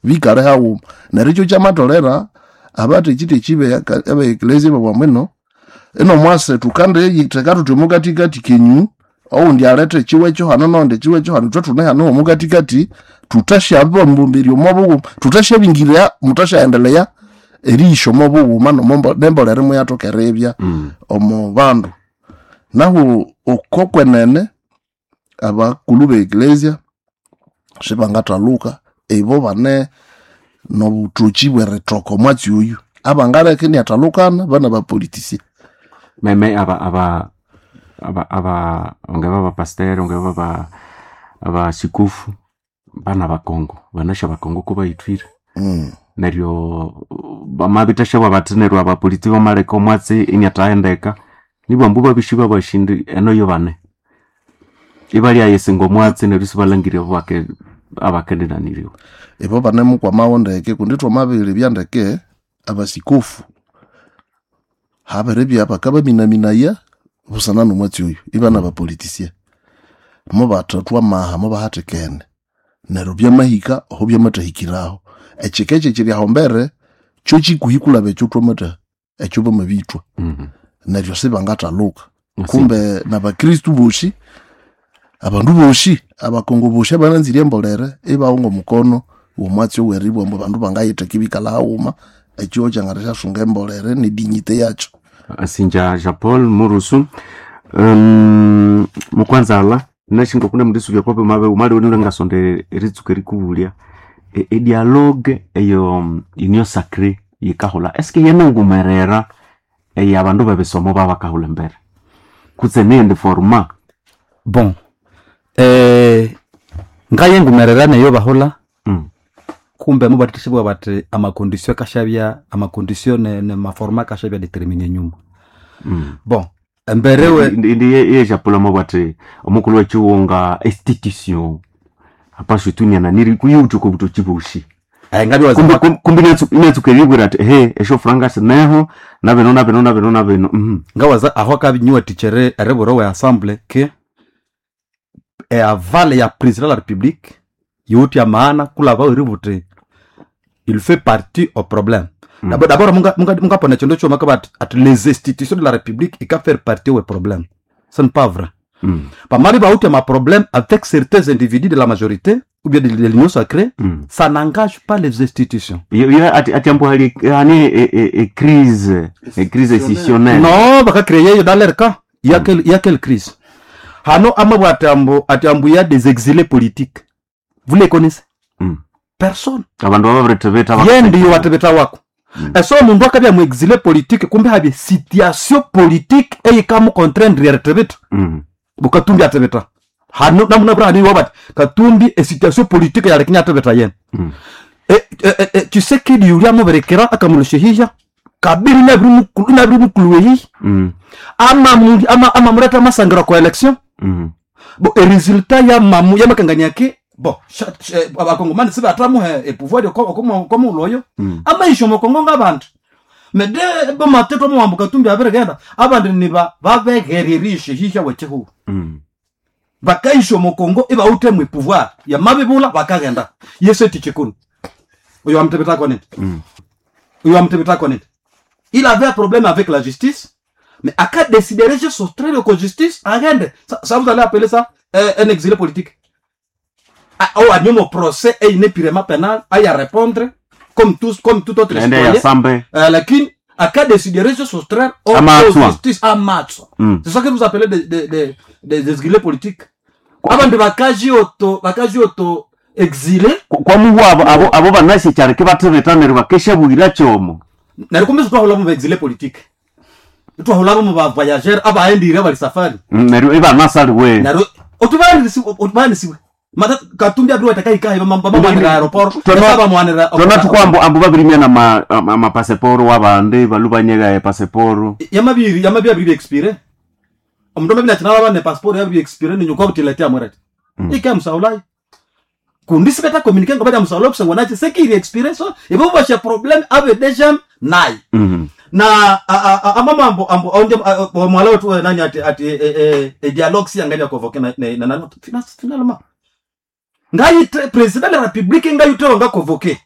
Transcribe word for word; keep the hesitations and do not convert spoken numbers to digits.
Bikale haghuma. Neryo ekyo kyamatholera abathekitheki be eklezia babwamwino ino mwase tukandiyitheka thuthi omukathikathi kenyu, owundi alethe ekiwa hano nowundi ekiwa hano, ithwe thune hano omukathikathi, thuthasyababumbirya omo bughuma, thuthasyaabingirya, muthasyaendelea eriyisya omo bughuma nembolere imuyathoka eribya Mm. omo bandu. Nahu oko kwenene abakulhu be eklezia sibangathaluka, ibo bane nobuthoki bwerithoka omwatsi oyu. Abangaleka iniathalukana banabapolitician. Meme aba aba aba aba ongeva bapasiteri, ongeva ba abasikufu bana bakongo, banasya bakongo kubayithwire. Mm. Neryo bamabithasyawa bathi neryo abapolitiki bamaleka omwatsi iniathahendeka, nibwa ambu babisyi babashindi eno yobane. Ibalyayisinga omwatsi neryo isibalhangirye abake abakendinaniriwa. Ibo banemukwamawo ndeke kundi thwamabiribya ndeke abasikofu habiribya bakabaminaminaya busana nomwatsi oyu, ibana bapolitician. Mubathathwa amaha mubahathikene. Neryo byamahika aho byamathahikiraho. Ekyika ekyo ekyiri aho mbere kyo kikuhi kulaba ekyo thwamatha ekyo bamabithwa. Mm. Neryo sibangathaluka. Kumbe nabakristu bosi, abandu bosi, abakongo bosi abananzire embolere ibawunga omukono womwatsi oweribwa ambu abandu bangayitheka ibikalha haghuma, ekyo kyangathathasyasunga embolere nedignité yakyo. Asinja Jean Paul Murusu, um, mukwanzala nashinga kuna mundisubya kwape mabe umali unule ngasonde eritsuka erikubulya e, e dialogue eyo um, union sacrée yikahula eske yenengumerera eya abandu bebisomo babakahula embere kutse nindi forma? Bon, eh, ngayengumerera neyo bahula mm. kumbe mubatithibwa bati amacondition akashabya amacondition ne, ne maforma akashabya déterminé nyuma. Mm. Bon, emberewe. Indi ye Jean Paul amabwati omukulu wechiwunga institution apasho tuniana kuyutuko butoki bushi. eh, ngabi kumbe waza kum- kumbe inatsu- inatsuka eribwira ati he esho franga sineho nabino nabino nabino nabino mhm. Ngawaza aho akabinyuwa tichere ereburo we assemble ke e aval ya président de la République yuti ya maana kulava iributi il fait partie au problème. Mm. D'abord, d'abord munga munga munga pona chondo choma kaba at les institutions de la République ika faire partie au problème, ce n'est pas vrai. Mm. Pamari ba uti ma problème avec certains individus de la majorité ou bien de, de l'union sacrée, Mm. ça n'engage pas les institutions. Yo- yo ati ati ambu hali hani e, e, e crise e crise institutionnelle. Non, baka créer dans leur cas, il y a quelle il y a quelle crise? Hano amabwa atambo atambo, il y a des exilés politiques, vous les connaissez? Mm. Personne. Abandu bababiritebeta. Yendi yo watebeta wako. Mm. Eso omundu akabya mu exilé politique, kumbe habye situation politique eyikamu contraindre yaretebeta. mm. Bukatumbi atebeta hano namuna bra hani wabat Katumbi e situation politique yarekinya atebeta yen. Mm. e, e, e, e, Tshisekedi yuri amuberekera akamuloshehisha kabiri nabiri mukulu nabiri mukulu wehi. Mm. Ama mu- ama ama mureta masangira kwa élection. Mm. Bon, e résultat ya mamu ya makanganya ke bon sha- sha- abakongomani sibatamuhe e pouvoir komo uloyo. Mm. Amaisho mokongo ngabantu mede bomateto muwambu Katumbi abiregenda abandi niba babegererishe hisha wechehu. Mm. Bakaisho mokongo ibautemwe pouvoir ya mabibula bakagenda yesu tichikunu oyo amtebetako nini. Mm. Oyo amtebetako nini, il avait un problème avec la justice, mais aka décidé de soustraire ko justice agende. ça, ça vous allez appeler ça euh, un exilé politique? Ah, oh anyomo procès et inépurement pénal à y répondre comme tous, comme tout autre Ende ya citoyen. sambe. euh, lakini aka décidé de se soustraire au Amatswa. aux justice amatswa. Mm. C'est ça que vous appelez des, des, des, des exilés politiques? Abandu bakaji auto bakaji auto exilé. Kwamuhu abo abo abo banashe kyareke batebeta neryo bakeshabwira kyomo. Neryo kumbe twahula mu exilé politique, twahula mu ba voyageur abaendire bali safari. Mm, neryo ibanasaliwe. Neryo otubanisiwe otubanisiwe mata Katumbi abiri watakaikahe bamamwanira aéroport. Tona- bamwanira. Tona tukwambo ambu babirimya na ma- ama- amapaseporo wabandi balubanyega epaseporo. Yamabiri yamabiri abiri expiré, omundu amabiri akinala bane passeport yabiri expiré ninyuka butiletea mwereti. Mm. Ike musaulayi kundi sibeta communiquer ngo bada musaulayi kusangwa nachi sekiri expiré, so ibo basha problème abe déjà nayi. Mhm. Na a- a- a- amamambo ambo onde mwala wetu eh, nani ati ati eh, eh, eh, dialogue si angalia convoquer na na na, na finalement ngai président de la République ngai utewa nga convoquer.